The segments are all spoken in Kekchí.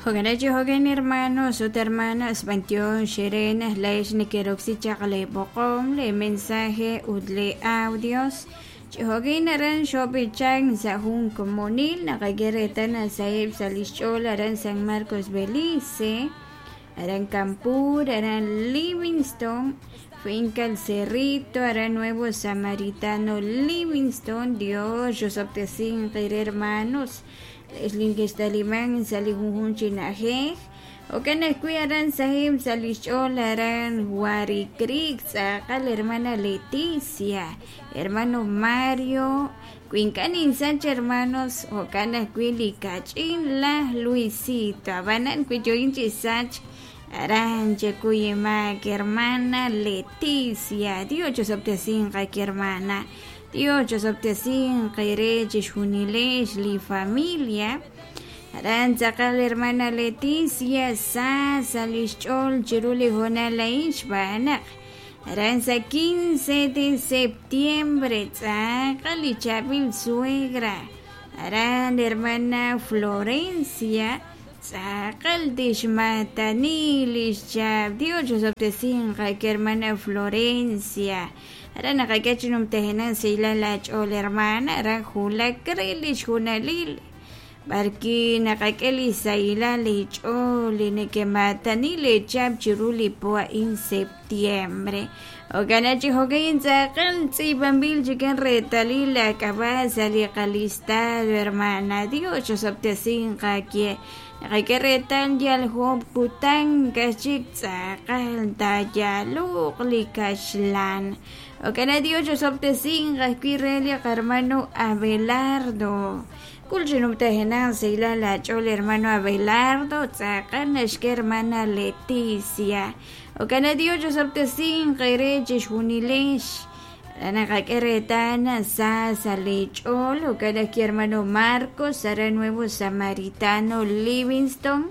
Jo'kan jo'kan hermanos ut hermanas b'antiox xere naj leex nekeroksi chaq le b'oqom le mensaje ut le audios chi jo'kan aran xob'ichan sa' jun komonil naqak'e reetal sa'eb' sa' lix ch'ool aran San Marcos Belice aran Campur aran Livingston Finca El Cerrito aran Nuevo Samaritano Livingston. Dios xosob'tesin qire hermanos leex linkextaliman sa' li junjun chi na'ajej jo'kan ajwi' aran sahib' sa' lix ch'ool aran Wari Creek tz'aqal hermana Leticia hermano Mario wi ink'a' ninsach hermanos jo'kan ajwi' li kach'in laj Luisito ab'anan wi yo'in chi sach aran chekuy imaak hermana Leticia. Dios chosob'tesin qaki hermana. Dios chosob'tesin qire chixjunilex li familia. Aran tz'aqal hermana Leticia sa sa' lix ch'ool chiru li hoonal a'in xb'aan naq aran sa' 15 de septiembre tz'aqal li chaab'il suegra. Aran hermana Florencia tz'aqal tixmatani lix chaab' Dios chosob'tesin qaki hermana Florencia. Aran naqak'e chi numtajenaq sahilal la ch'ool hermana aran wulak re lix junalil b'arki naqak'e li sahilal li ch'ool li nekematani le chaab' chiru li po a'in septiembre. Jo'kan chi jo'kan tz'aqal tz'iib'anb'il chikan reetalil la k'ab'a' sa' li qalistado hermana. Dios chosob'tesin qakye naqak'e reetal yal job' kutan kachik tz'aqal tayaluq li kaxlan. Jo'kan Dios chosob'tesin ajwi' re li qarmano Abelardo. Kul chi numtajenaq sahilal la ch'ool hermano Abelardo tz'aqal naxk'e hermana Leticia. Jo'kan Dios chosob'tesin qere chixjunilex naqak'e reetal sa sa' li ch'ool jo'kan ajwi' hermano Marcos aran Nuevo Samaritano Livingston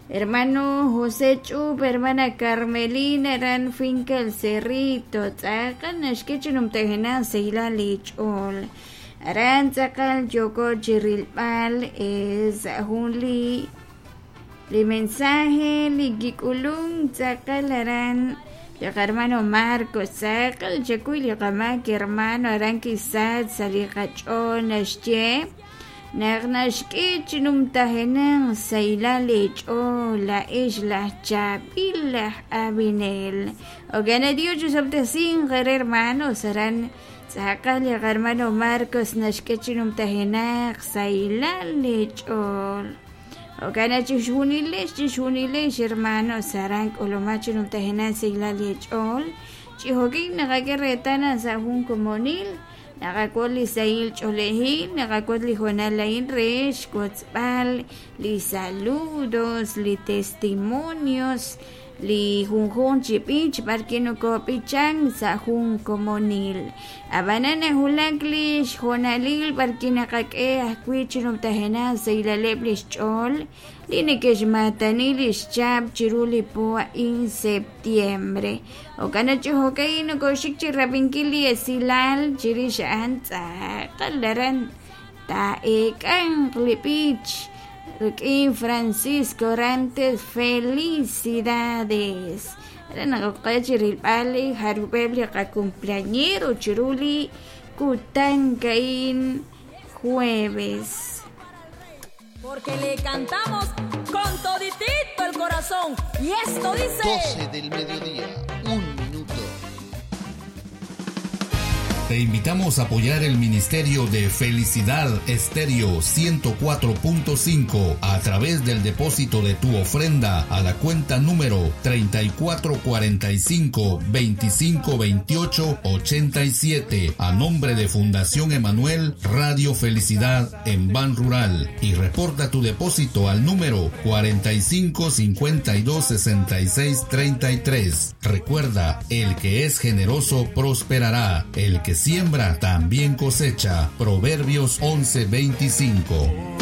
hermano José Ch'up hermana Carmelina aran Finca El Cerrito tz'aqal naxk'e chi numtajenaq sahilal li ch'ool aran tz'aqal yooko chi rilb'al sa' jun li mensaje li kik'ulun tz'aqal aran li qarmano Marcos tz'aqal chakuy li qamaak hermano aran kisach sa' li qach'ool naxye naq naxk'e chi numtajenaq sahilal li ch'ool la'ex laj chaab'il laj Abinel. Jo'kan Dios chosob'tesin qere hermanos aran tz'aqal li qarmano Marcos naxk'e chi numtajenaq sahilal li ch'ool. Jo'kan chixjunilex hermanos aran k'ulumaj chi numtajenaq sahilal li ch'ool chi jo'kin naqak'e reetal sa' jun komonil naqak'ul li sahil ch'oolejil naqak'ul li hoonal a'in re xwotzb'al li saludos li testimonios li junjun chi b'ich b'arki nokob'ichan sa' jun komonil ab'anan nawulak li xjoonalil b'arki naqak'e ajwi' chi numtajenaq sahilaleb' lix ch'ool li neke'xmatani lix chaab' chiru li po a'in septiembre. Jo'kan chi jo'kan nokoxik chi rab'inkil li esilal chirix a'an tz'aqal aran taa'eek'anq li b'ich rik'in Francisco Orantes. Felicidades. Aran naqoqe chi rilb'al li jarub'eb' li qacumpleañero chiru li kutan ka'in jueves. Porque le cantamos con toditito el corazón. Y esto dice: 12 del mediodía, 1 minuto. Te invitamos a apoyar el Ministerio de Felicidad Estéreo 104.5 a través del depósito de tu ofrenda a la cuenta número 3445 2528 87 a nombre de Fundación Emanuel Radio Felicidad en Ban Rural y reporta tu depósito al número 45 52 66 33. Recuerda, el que es generoso prosperará, el que siembra también cosecha. Proverbios 11:25.